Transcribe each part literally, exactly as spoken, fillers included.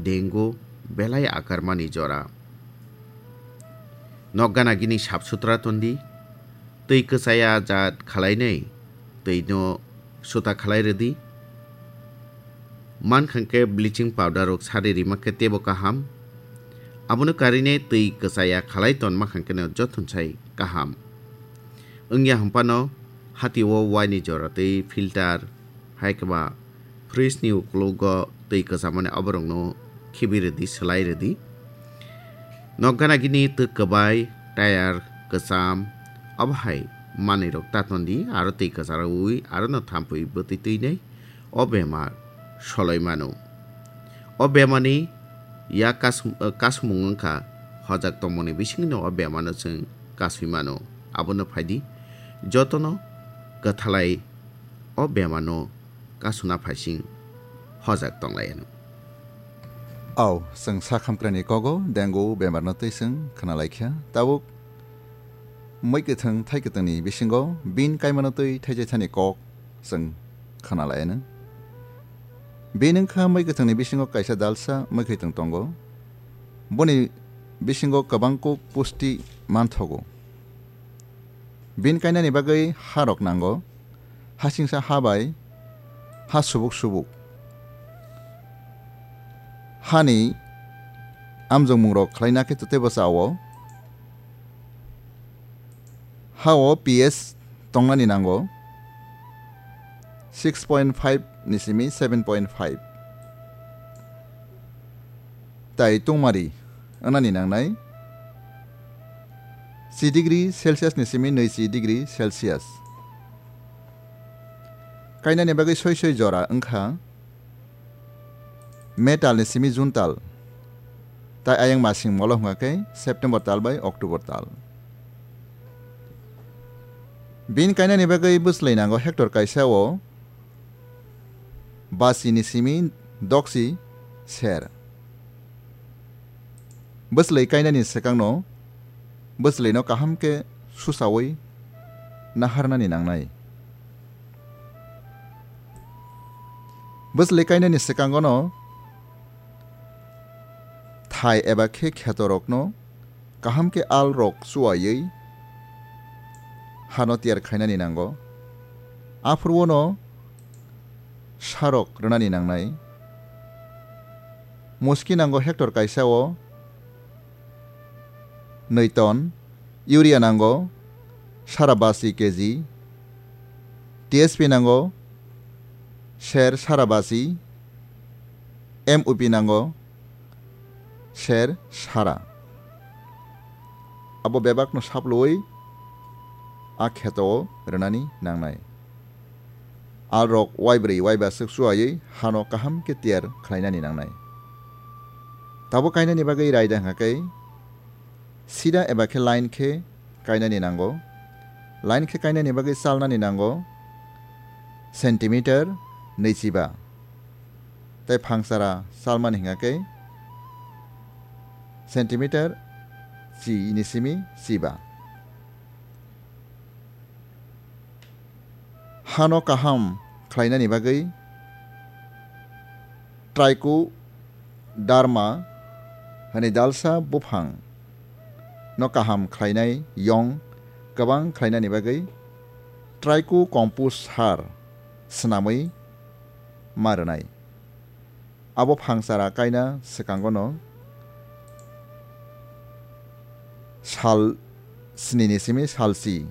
dengue belai akarmani jora. Nokgana gini sap sutra tondi, twi kwchaya jat khwlainai, twino suta khwlai rwdi. Mankha khe bleaching powder rok sari rima khe teibo kaham. Abono karine twi kwchaya khwlai tonma kha kheno jothon sai kaham. Wngya hwnphano hati o waini jora twi filter hai kwba fridge ni uklogo twi kwchamani oborokno khibi rwdi, swlai rwdi. Nokgana gini twk kwbai, tayar kwcham, obo hai manwi rok ta tondi, aro twi kwcharaui aro no thampui bwtwi twinai o bemar soloi mano. O bemarni ya kas-, kasumung wngkha hojak tongmani bisingno o bemarno chwng kasui mano. Abono phaidi jotono kwthalai o bemarno kasuna phaising hojak tonglaiyano. Au, chwng sakhamkrani kogo dengue bemarno twi chwng khwnalaikha. Tabuk mui kwthwng thai kwthwngni bisingo bin kaimano twi thaijaithani kok chwng khwnalaiyano. Bin wngkha mui kwthwngni bisingo kaisa dalsa mui khwtwng tongo. Boni bisingo kwbang kuk pusti manthogo. Bin kainani bagwi ha rok nango. Hasingsa ha bai ha subuk subuk. Hani amjokmungrok khlaina khe totebo chao. Ha o P S tongnani nango six point five ni simi seven point five. Tai tungmari wngnani nangnai chi degree Celsius ni simi nui chi degree Celsius. Kainani bagwi soi soi jora wngkha May tal ni simi June tal, tai ayang masing molo hwnga khe September tal bai October tal. Bin kainani bagwi bwslai nango hectare kaisa o basi ni simi doksi ser. Bwslai kainani swkangno bwslaino kaham khe susaui naharnani nangnai. Bwslai kainani swkangono thai eba khe khetorokno kaham khe al rok chuaiwi hano tiyar khainani nango. Aphuru ono sarok rwnani nangnai. Muski nango hectare kaisa o nui ton, urea nango sara basi K G, T S P nango ser sara basi, M O P nango ser sara. Abo bebakno saplui a kheto o rwnani nangnai. Alrok waibrwi waiba swk chuaiwi hano kaham khe tiyar khlainani nangnai. Tabuk kainani bagwi raida hwnkha khe sida eba khe line khe kainani nango. Line khe kainani bagwi chalnani nango centimeter nwichiba. Tei phangsara chalmani hwnkha khe centimeter chi ni simi chiba. Hano kaham khlainani bagwi Trichoderma hwnwi dalsa buphang no kaham khlainai yong kwbang khlainani bagwi Tricho compost sar swnamwi ma rwnai. Abo phangsara kaina swkangono sal sni ni simi sal si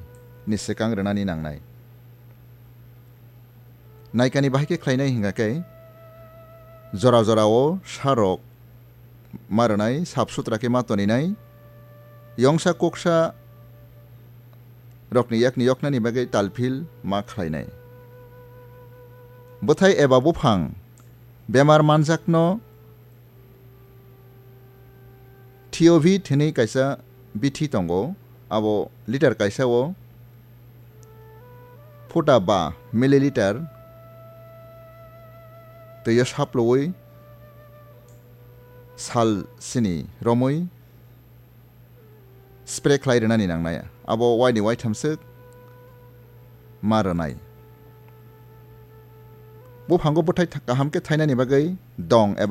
ni swkang rwnani nangnai. Naikani bahai khe khlainai hwnkha khe jora jora o sarok ma rwnai, sap sutra khe ma toninai, yongsa koksa rokni yakni yoknani bagwi talphil ma khlainai. Bwthai eba buphang bemar manjakno Theovit hwnwi kaisa bithi tongo, abo litre kaisa o phuta ba milliliter twi o saplui sal sini romwi spray khlai rwnani nangnai. Abo waini waitham swk ma rwnai. Buphango bwthai tha-, kaham khe thainani bagwi dong eba